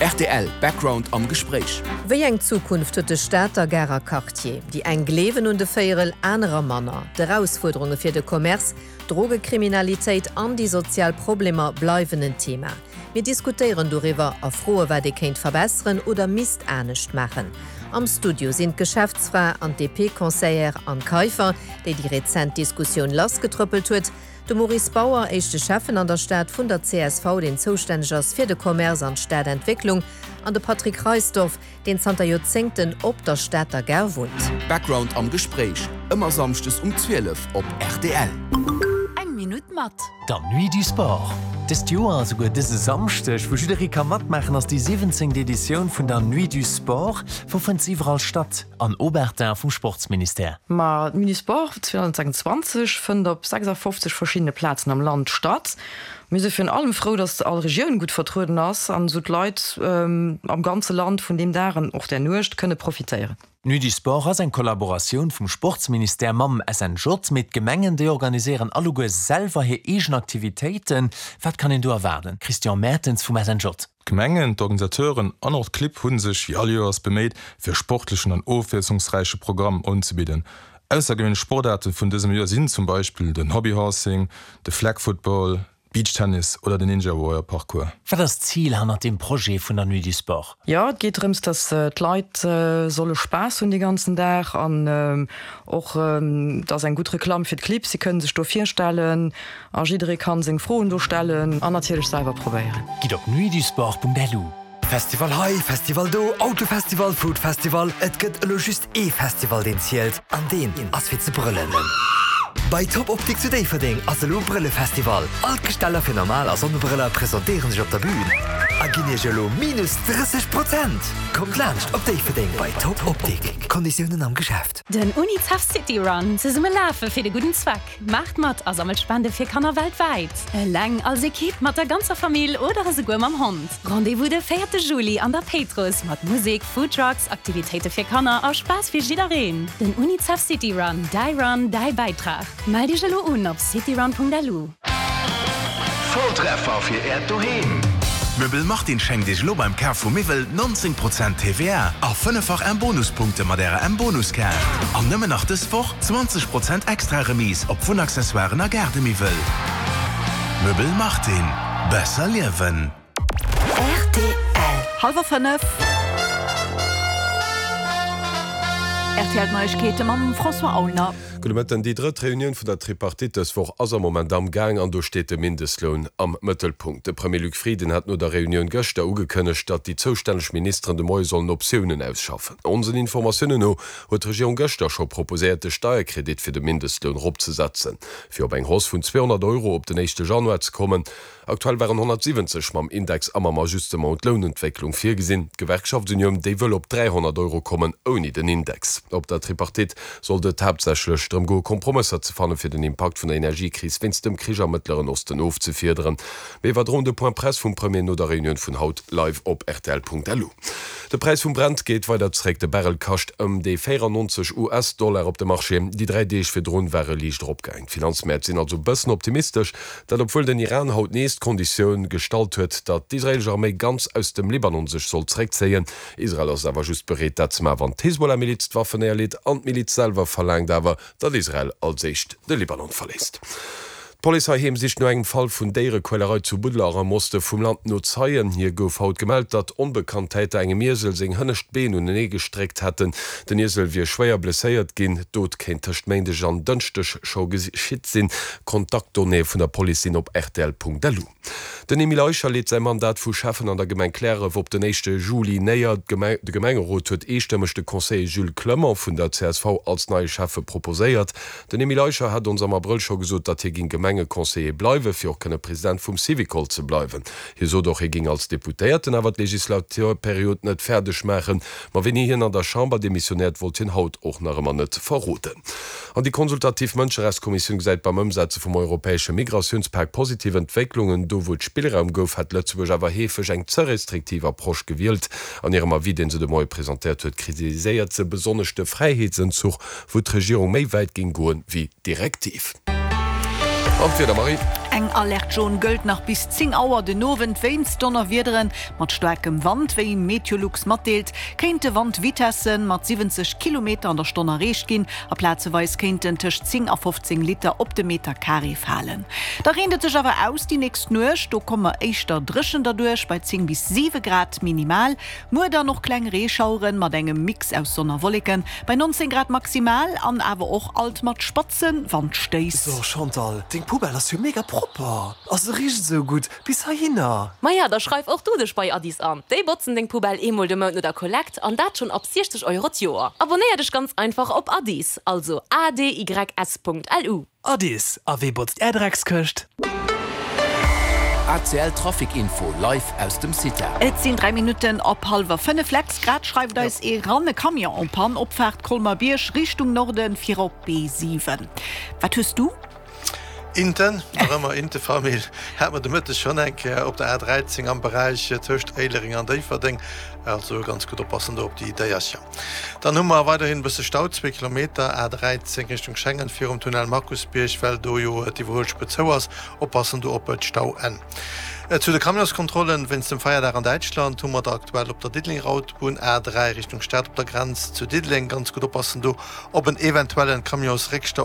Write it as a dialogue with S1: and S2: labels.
S1: Rtl Background am Gespréich.
S2: Wéi eng Zukunft huet de Stater Garer Quartier? Déi eng gleewen un de Véierel, anerer manner. D'Erausfuerderunge fir de Commerce, d'Drogekriminalitéit an déi sozial Problemer bleiwen en Thema. Mir diskutéieren doriwwer a froe wat ee kéint verbesseren oder misst anescht maachen. Am Studio sinn d'Geschäftsfra an d'DP-Conseillère Anne Kaiffer, déi déi rezent Diskussioun lassgetrëppelt huet, De Maurice Bauer, éischte Schäffen an der Stad vun der csv, deen zoustänneg ass fir de Commerce an d'Stadentwécklung, an de Patrick Reisdorf, deen zanter Joerzéngten op der Stater Gare wunnt.
S1: Background am Gespréich, ëmmer samschdes um 12 op rtl.
S3: Eng Minutt mat.
S4: Der Nuit du Sport. Dëst Joer, esouguer dëse Samschdeg, wou jidderee ka matmaachen, ass déi 17. Editioun vun der Nuit du Sport. Wou fënnt se iwwerall statt? An Aubertin vum Sportsministère.
S5: Ma d'Munisport 2026 fënnt op 56 verschiddene Plazen am Land statt. Mir si virun allem frou, datt all Regioun gutt vertrueden ass an esou d'Leit am ganze Land vun deem Dag an och där Nuecht kënne profitéieren.
S4: D'Nuit du Sport ass eng Kollaboratioun vum Sportsministère mam SNJ, mee d'Gemengen, déi organiséieren alleguer selwer hir eegen Aktivitéiten. Wat kann een do erwaarden? Christian Mertens vum SNJ.
S6: D'Gemengen, d'Organisateuren an och d'Clibb hu sech wéi all Joers beméit, fir e sportlechen an ofwiesslungsräiche Programm unzebidden. Aussergewéinlech Sportaarte vun dësem Joer sinn zum Beispill den Hobbyhorsing, de Flag Football, Beachtennis oder den Ninja Warrior Parcours.
S4: Wat ass d'Zil hannert deem Projet vun der Nuit du Sport?
S5: Jo, et geet drëms, dass d'Leit solle Spaass hunn dee ganzen Dag an och, et ass eng gutt Reklamm fir d'Clibb, si kënne sech do virstellen A jidderee kann seng Froen do stellen an natierlech selwer probéieren.
S4: Gitt op nuitdusport.lu.
S7: Festival hei, Festival do, Autofestival, Foodfestival, et gëtt elo just ee Festival deen zielt an deen ass fir ze brëllen. Bei Top Optik zu Déifferdeng ass elo Brëllefestival. All d'Gesteller fir normal a Sonnebrëller presentéieren sech op der Bühn a ginn iech elo minus 30 Prozent. Kommt laanscht op Déifferdeng bei Top Optik. Konditiounen am Geschäft.
S3: Den UNICEF City Run, Zesumme lafe fir de gudden Zweck! Maacht mat a sammelt Spende fir Kanner weltwäit! Eleng, als Ekipp, mat der ganzer Famill oder esouguer mam Hond. Rendez-vous de véierte Juli an der Péitruss mat Musek, Foodtrucks, Aktivitéite fir Kanner a Spaass fir jiddereen. Den UNICEF City Run, däi Run, däi Bäitrag. Mellt iech elo un op cityrun.lu.
S1: Volltreffer fir Äert Doheem! Möbel Martin schenkt Iech elo beim Kaf vu Miwwel 19 Prozent TVA a fënneffach M-Bonuspunkte mat Ärer M-Bonuskaart. An nëmmen nach dës Woch 20 Prozent extra Remise op Wunnaccessoiren a Gaardemiwwel. Möbel Martin, besser liewen!
S3: Rtl.
S8: Hallwer 5. RTL Neiegkeete mam François Aulner.
S9: Gudde Mëtten. Déi drëtt Reunioun vun der Tripartite dës Woch ass am Moment am Gaang an do steet de Mindestloun am Mëttelpunkt. De Premier Luc Frieden hat no der Reunioun gëschter ugekënnegt, datt déi zoustänneg Ministeren de Moie sollen Optiounen ausschaffen. Onsen Informatiounen no huet d'Regierung gëschter scho proposéiert, de Steierkredit fir de Mindestloun eropzesetzen, fir op eng Hausse vun 200 Euro op den éischte Januar ze kommen. Aktuell waren 170 mam Index a mam Ajustement un d'Lounentwécklung virgesinn. D'Gewerkschaftsunioun, déi wëll op 300 Euro kommen, ouni den Index. Op der Tripartite sollt et haaptsächlech drëm goe Kompromësser ze fannen, fir den Impakt vun der Energiekris wéinst dem Krich am Mëttleren Osten ofzefiederen. Mir iwwerdroen de Point Presse vum Premier no der Reunioun vun haut live op rtl.lu. De Präis vum Brent geet weider zeréck, de Barrel kascht ëm déi 94 US-Dollar op de Marché. Déi 3 Deeg virdrun war e liicht eropgaang. D'Finanzmäert sinn also bëssen optimistesch. Dat obwuel den Iran haut nees d'Konditioun gestallt huet, datt d'israeelesch Arméi ganz aus dem Libanon sech soll zeréckzéien. Israel ass awer just bereet dat ze maachen, wann d'Hezbollah-Miliz d'Waffen néierleet an d'Miliz selwer verlaangt awer, datt Israel als éischt de Libanon verléisst. D'Police heiheem sicht no engem Fall vun Déierequälerei zu Buddeler am Oste vum Land no Zeien. Hier gouf haut gemellt, datt onbekannt Täter engem Iesel seng hënnescht Been unenee gestréckt hätten. Den Iesel wier schwéier blesséiert ginn. D'Dot kéint tëscht Méindeg an Dënschdeg scho geschitt sinn. D'Kontaktdonnéeë vun der Police sinn op rtl.lu. Den Emile Eicher leet säi Mandat vu Schäffen an der Gemeng Cliärref op den éischte Juli néier. De Gemengerot huet eestëmmeg de Conseiller Jules Clement vun der csv als neie Schäffe proposéiert. Den Emile Eicher hat ons am Abrëll scho gesot, datt hie ging Gemengeconseiller bleiwen, fir och kënne President vum Syvicol ze bleiwen. Hie sot och, hie ging als Deputéierten awer d'Legislaturperiod net fäerdeg maachen. Ma wéini hien an der Chamber demissionéiert, wollt hien haut och nach ëmmer net verroden. An déi konsultativ Mënscherechtskommissioun gesäit beim Ëmsetze vum europäesche Migratiounspak positiv Entwécklungen. Do wou et Spillraum gouf, hätt Lëtzebuerg awer heefeg eng ze restriktiv Approche gewielt. An hirem Avis, deen se de Moie presentéiert huet, kritiséiert se besonnesch de Fräiheetsenzuch, wou d'Regierung méi wäit géing goen wéi d'Direktiv. An d'Wieder, Marie?
S8: Eng Alerte jaune gëllt nach bis 10 Auer den Owend wéinst Donnerwiedere mat staarkem Wand. Wéi Meteolux matdeelt, kéinte Wandvitesse mat 70 Kilometer an der Stonn erreecht ginn a plazeweis kéinten tëscht 10 a 15 Liter op de Meter Carré falen. Da reent et sech awer aus déi nächst Nuecht, do komme mer éischter dréchen derduerch bei 10 bis 7 Grad minimal. Muer dann och kleng Reeschaueren mat engem Mix aus Sonn a Wolleken bei 19 Grad maximal an awer och alt mat spatze Wandstéiss.
S7: So Chantal, deng Poubelle ass jo mega propper a se richt esou gutt bis heihinner.
S10: Maja, da schreif och du dech bei Addis an. Déi botzen deng Poubelle eemol de Mount no der Kollekt an dat schonn ab 60 Euro d'Joer. Abonnéier dech ganz einfach op Addis, also adys.lu.
S7: Addis, a wee botzt är Dreckskëscht?
S11: ACL Trafic Info live aus dem CITA.
S8: Et sinn 3 Minutten op hallwer 5. Lex, grad schreift eis ee ran, e Camion en panne, Opfaart Colmer-Bierg Richtung Norden fir op B7. Wat hues du?
S12: Inten, nach ëmmer Inte-Famill, hat mer de Mëtteg schonn eng Kéier op der A13 am Beräich tëscht Éilereng an Déifferdeng. Also ganz gutt oppassen do op déi Déiercher. Dann hu mer weiderhin e bësse Stau, zwee Kilometer, A13 Richtung Schengen virum Tunnel Markusbierg, well do jo d'Iwwerhuelspuer zou ass. Oppassen do op d'Stauenn. Zu de Camionskontrollen, Wéinst dem Feierdag an Däitschland hu mer der aktuell op der Diddelenger Autobunn, A3 Richtung Stad op der Grenz zu Diddeleng. Ganz gutt oppassen do op en eventuellen Camionsréckstau.